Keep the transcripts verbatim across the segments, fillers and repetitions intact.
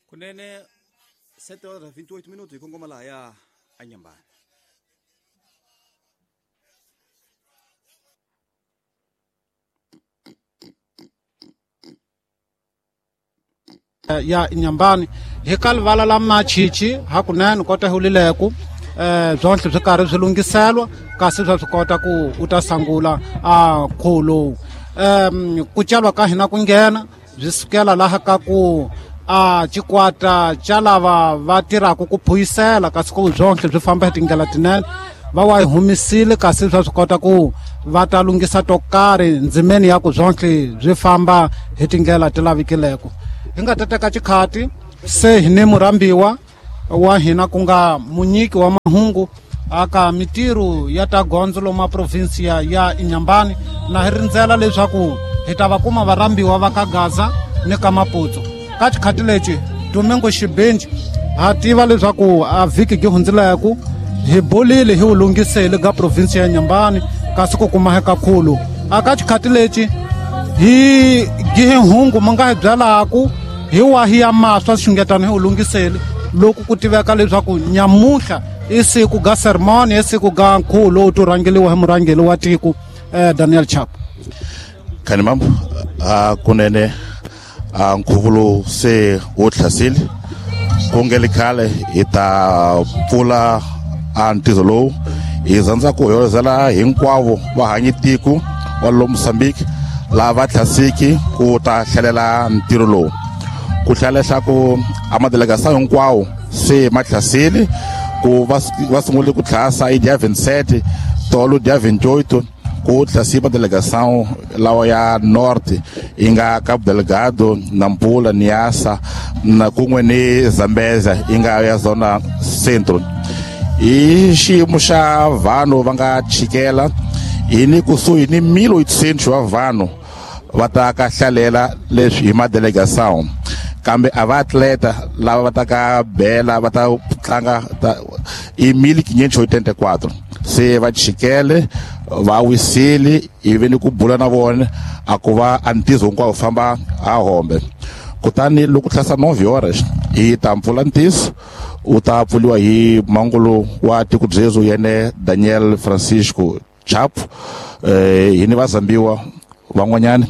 Kunene sete horas vinte e oito minutos e kongoma la ya Inhambane. Ya Inhambane hi ka livala la Machichi hakunene kota hulileku eh byonhle swi karhi swi lunghiselwa kasi swa swi kota ku u ta sangula a nkhuvo lowu. Um ku celwa ka hina ku nghena byi sukela laha ka ku a xikwata xa lava va tirhaka ku phuyisela kasi ku byonhle byi famba hi tindlela tinene va wa hi humisile kasi swa swi kota ku va ta lunghisa to karhi ndzimeni ya ku byonhle byi famba hi tindlela ti lavikileko. Hi nga ta teka xikhati se hi ni murhambiwa wa hina ku nga munyiki wa mahungu aka mitirho ya ta gondzo loma provinsia ya Inhambane na hi rindzela leswaku hi ta va kuma varhambiwa va ka Gaza ni ka Maputo. Ka xikhati lexi Domingo Xibinji ha tiva leswaku a vhiki gi hundzileku hi bolile hi wu lunghisele ka provinsia ya Inhambane kasi ku kuma hi kakhulu. A ka xikhati lexi hi gihe hungu mu nga hi byalaku hi wahi ya maswa xungetano hi wu lunghisele loko ku tiveka leswaku nyamuhla i siku ga sermon i siku ga nkhuvo lowu to rhangeliwa hi murhangeri wa tiko eh, Daniel Chapo. Khani mambo a kunene a nkhuvo lowu se wu tlhasile ku nge li khale hi ta pfula a ntirho lowu hi rhandza ku hoyozela hinkwavo vahanyi tiko wa lo Mozambique lava tlhasiki ku ta hlalela ntirho lowu. Ku tlhela leswaku a madelegação hinkwawo se ma tlhasile ku va va sungule ku tlhasa hi dia vinte e sete tolo dia vinte e oito ku tlhasi madelegação lawa ya norte yi nga Cabo Delgado, Nampula, Niassa na kun'we ni Zambezia yi nga ya zona centro. Hi xiyimo xa vanhu va nga chikela hi ni kusuhi ni mil oitocentos wa vanhu va ta ka hlalela leswi hi madelegação kambe a va atleta lava va ta ka bela va ta tlanga i mil quinhentos e oitenta e quatro se va chikele va wisile ivi ni ku bula na vona a ku va a ntizo hinkwawo famba a hombe. Kutani loko tlhasa nove horas hi ta mpfula ntiso u ta pfuliwa hi mangulu wa tiko byezo yene Daniel Francisco Chapo eh hi ni vazambiwa van'wanyana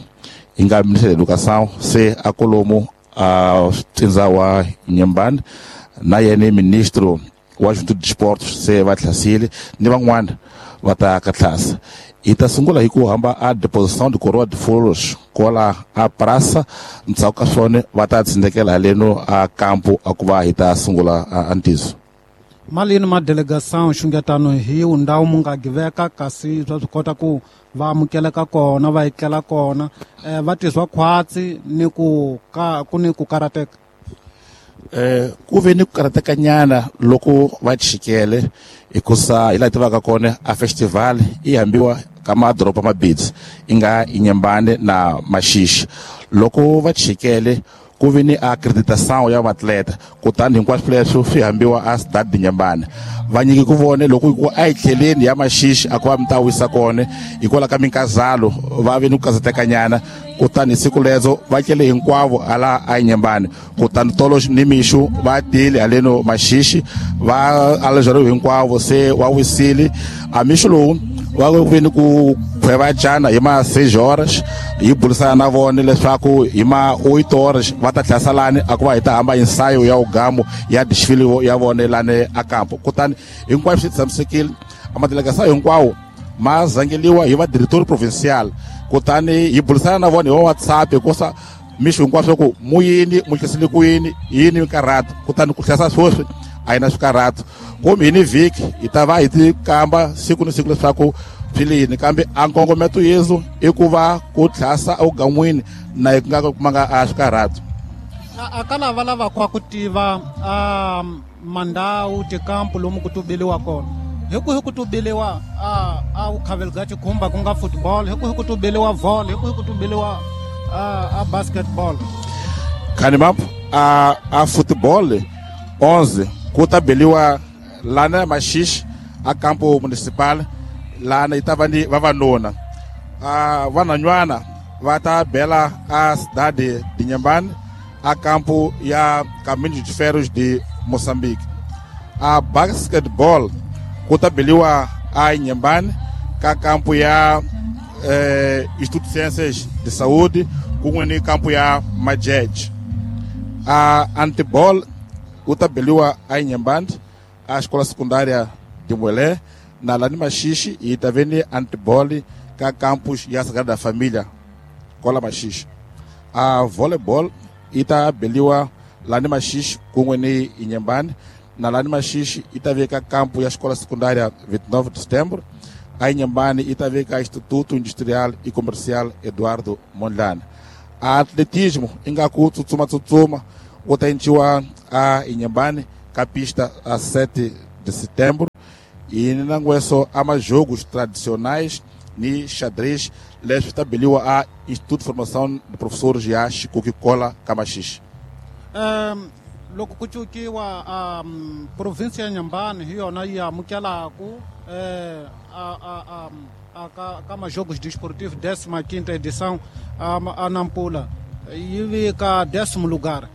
hi nga ministre de educação se a kolomo a tsindza wa Inhambane na yene ministro wa juventude de esportes se va tlhasile ni van'wana va ta ka tlhasa. Hi ta sungula hi ku hamba a deposição de coroa de flores kola a praça ndzhaku ka swona va ta tsindekela haleno a campo a ku va hi ta sungula a ntiso. Malini ma delegação xungetano hi ndhawu mu nga giveka kasi swa swi kota ku va amukeleka kona va etlela kona eh, va tizwa khwatsi ni ku ka ku ni ku karateka. Eh ku ve ni ku karateka nyana loko va chikele hikusa hi laha tivaka kona a festival i hambiwa ka madoroba mabidzi i nga Inhambane na Maxixi. Loko va chikele ku ve ni acreditação ya vatleta kutani hinkwaswo leswo swi hambiwa a Cidade de Inhambane. Va nyiki ku vone loko ku a hi tlheleni ya Maxixi a ku va mi ta wisa kona hikwalaho ka minkazalo va ve ni ku kazatekanyana kutani siku lezo va tlele hinkwavo hala a Inhambane. Kutani tolo ni mixo va tile haleno Maxixi va alejariwe hinkwavo se wa wisile. A mixo lowu va ve ni ku khweva cana hi ma seis horas hi burisana na vona leswaku hi ma oito horas va ta tlhasa lani a ku va hi ta hamba ensayo ya ugamo ya desfile ya vona lani a campo. Kutani hinkwaswo swi tshamisekile a madelegação hinkwawo ma zangeliwa hi va diretor provincial kutani hi burisana na vona hi wa WhatsApp hikusa mixo hinkwaswo ku muyini mu hlasile ku yini yini mikarhato kutani ku hlasa sweswi a yi na swikarhato kumbe hi ni vhiki hi ta va hi ti kamba siku ni siku leswaku swi lini kambe a nkongometo yesu i ku va ku tlhasa evugan'wini na hi nga kumanga a swikarhato. A ka lava lavaka ku tiva a mandhawu tikampu lomu ku tubeliwa kona hi ku hi ku tubeliwa a a vukhaveli bya xikhumba ku nga football hi ku hi ku tubeliwa volley hi ku hi ku tubeliwa a a basketball. Khani mambo a a football onze ku ta beliwa lana Maxixi a campo municipal lana yi ta va ni vavanuna a vanhwanyana va ta bela a Cidade de Inhambane a campo ya Caminhos de Ferros de Moçambique. A basketball ku ta beliwa a Inhambane ka campo ya eh, Instituto de Ciências de Saúde kun'we ni campo ya Majej. A handball ku ta beliwa a Inhambane a escola secundária de Muelé, na Lani Machixe, e também ni handball ka campus ya Sagrada Família Kola Machixe. A volleyball yi ta beliwa Lani Machixe kun'we ni Inhambane, na Lani Machixe yi ta veka campo ya escola secundária vinte e nove de setembro, a Inhambane yi ta veka Instituto Industrial e Comercial Eduardo Mondlane. A atletismo ingaku tsutsuma tsutsuma wu ta endliwa a Inhambane ka pista a sete de setembro, e nangweso a majogos tradicionais ni xadrez leswi ta beliwa a Instituto de Formação de Professores ya Xikuki Kola ka Machixe. Um, loko ku cukiwa um, provinsia ya Inhambane hi yona yi amukelaku eh, a, a, a, a, ka, ka majogos desportivos décima quinta edição a, a Nampula yi vika décimo lugar.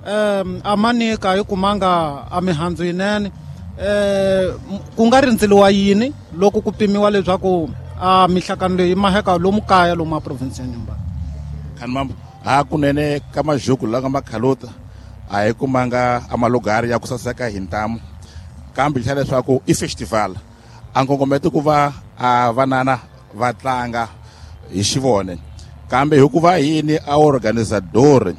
Um, a manika yi kumanga a mihandzu yinene eh, ku nga rindzeliwa yini loko ku pimiwa leswaku a mihlakano leyi maheka lomu kaya lomu a provinsi ya Inhambane? Khanimambo hakunene ka majogo la nga makhalota a hi kumanga a malugari ya ku saseka hi ntamu, kambe xa leswaku i festival a nkongometo ku va a vanana va tlanga hi xivone, kambe hikuva yini a organizador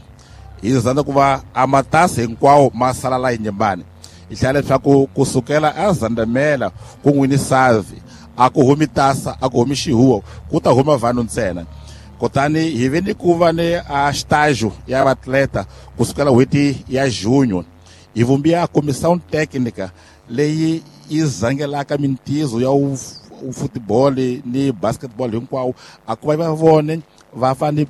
hi zanda ku va a matasi hinkwawo ma sala la Inhambane. Hi hlaya leswaku kusukela a Zandamela ku n'wini Savi a ku humi tasa a ku humi xihuwo ku ta huma vanhu ntsena. Kutani hi ve ni ku va ni a estágio ya vatleta kusukela n'hweti ya junho, hi vumbiwa comissão técnica leyi yi zangelaka mintizo ya futebol ni basketball hinkwawo a ku va va vone va fane